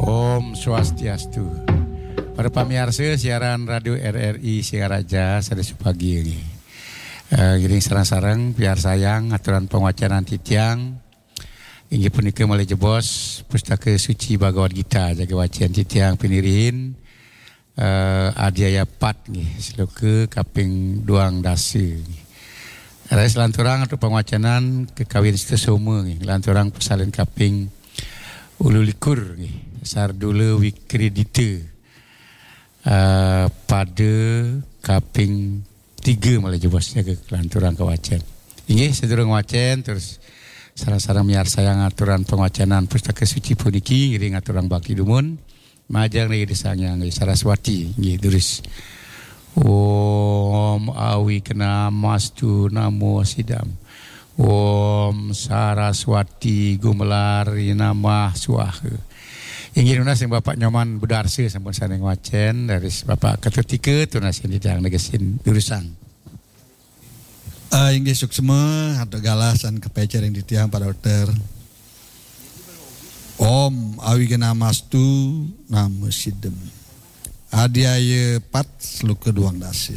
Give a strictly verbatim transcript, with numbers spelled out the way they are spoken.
Om Swastiastu. Para pamiarsa siaran Radio R R I Singaraja, sada supagi nggih. Eh, ngiring sareng-sareng piarsayang aturan panguacanan titiang. Inggih punika malih jebos Pustaka Suci Bhagavad Gita jaga wacén titiang pinirihin, eh, adhyaya pat nggih, sloka kaping duang dasa nggih. Raris lanturang antuk panguacanan kakawin Sutasoma nggih, lanturang pasalin kaping ulu likur nggih, Sardula Wikridita, eh, pada kaping tiga malih jebos jaga lanturang kawacén. Inggih, sadurung wacén terus sareng-sareng miarsayang aturan panguacanan Pustaka Suci puniki ngiring aturang bakti dumun. Majeng ring Ida Sang Hyang Saraswati, nggih, durus. Om Awignamastu Namo Sidam. Om Saraswati Gumelar Namah Swaha. Inggih, nunas ring Bapak Nyoman Budarsa sampun sané ngwacén, raris Bapak Ketutika tunas ring titiang negesin durusang. Ah, inggih suksma, antuk galah san kapaica ring titiang Pak Dokter. Om Awignamastu Namo Sidam. Adhyaya pat sloka duang dasa.